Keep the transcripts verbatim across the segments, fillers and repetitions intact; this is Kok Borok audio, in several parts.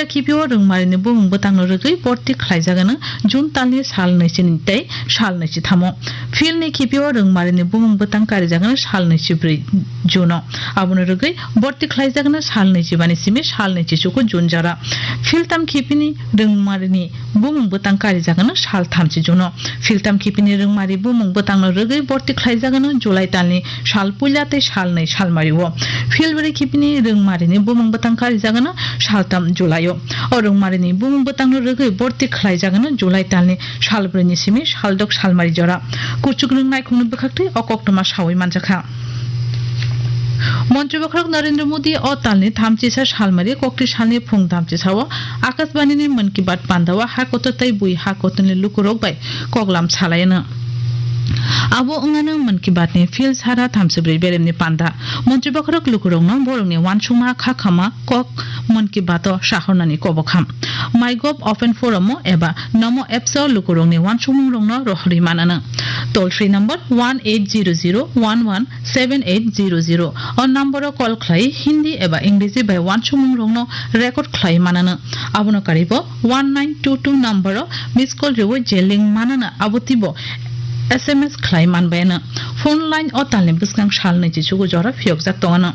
Khipio rwngmarini bumung bwtangno rwgwi borti khlaijagano June talni sal naichini tei sal naichithamo. Philni khipio rwngmarini bumung bwtang karijagano sal naichibrwi June-o. Abono rwgwi borti khlaijagano sal naichibani simi sal naichichuku June jora. Philtam khipini rwngmarini bumung bwtang karijagano sal thamchi June-o. Philtam khipini rwngmari bumung bwtangno rwgwi borti khlaijagano July talni sal puila tei sal nai salmario. Philbri khipini rwngmarini bumung bwtang karijagano saltam July-o. O rwngmarini bumung bwtangno rwgwi borti khlaijagano July talni salbrini simi saldok salmari jora. Kuchuk nwng naikhungni bwkhaktwi o koktwma sawi manjakha. Montri bokhorok Narendra Modi o talni thamchisa salmari kokti salni phung thamchisao Akashbanini Mann Ki Baat pandao hakotor tei bui hakotorni lukurok bai koklam salaino. Abo wngano Mann Ki Baatni phil sara thamchibrwi beremni panda. Montri bokhorok lukurokno borokni uansukma kha khama kok Mann Ki Baat-o sahornani kobokham. MyGov Open Forum-o eba Namo Apps-o lukurokni uansukmungrokno rohorwi manano. Toll free number one eight zero zero one one seven eight zero zero. O number-o call khlai Hindi eba Ingreji bai uansukmungrokno record khlai manano. Abono karibo one nine two two number-o miss call rwi je link manano abo twibo S M S khlai manbaino. Phone line o talni bwskang sal naichichugo jora phiyokjak tongano.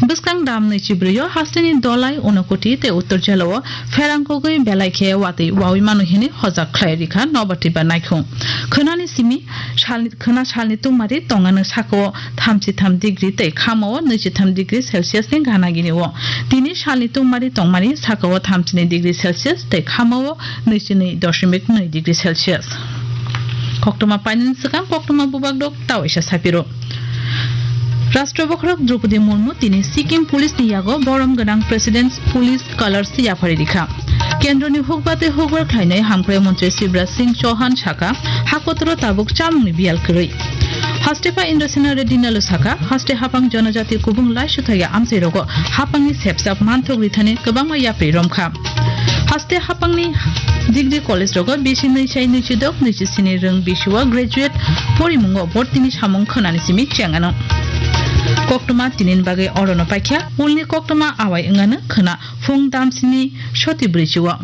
Bwskang dam naichibrwi-o hasteni Dolai, Unakoti tei Uttor Jela-o pherang kogwi belai khe watwi wawi mano hini hojak khlai rikha nobar twibar naikhung. Khwnani simi salni, khwna salni tungmari tongano sakao thamchi tham degree tei khamao nwichi tham degree Celsius ni gana gini-o. Tini salni tungmari tongmani sakao thamchini degree Celsius tei khamao nwichi nwi doshimik nwi degree Celsius. Koktwma painani swkang koktwma bubak dok tawaisa sapiro. Rashtra bokhorok Droupadi Murmu tini Sikkim Police ni yago borom gwnang President's Police Colors yaphari rikha. Kendroni hukba tei hukbar khlainai hamkrai montri Shivraj Singh Chauhan saka, hakotoro tabuk chamungni biyal kwrwi. Haste pha Indrasena Reddy Nalo saka, haste hapang jonojati kubung laisuthagia amchairogo hapangni sepsap manthok rithani kwbangma yapri romkha. Haste hapangni degree college rogo bisi nwi sai nwi chidok nwi chisini rwng bisio graduate porimungo bortini samung khwnani simi chengano. Koktwma tinini bagwi orono paikha, ulni koktwma awai wngano khwna phung damsini soti brwichio.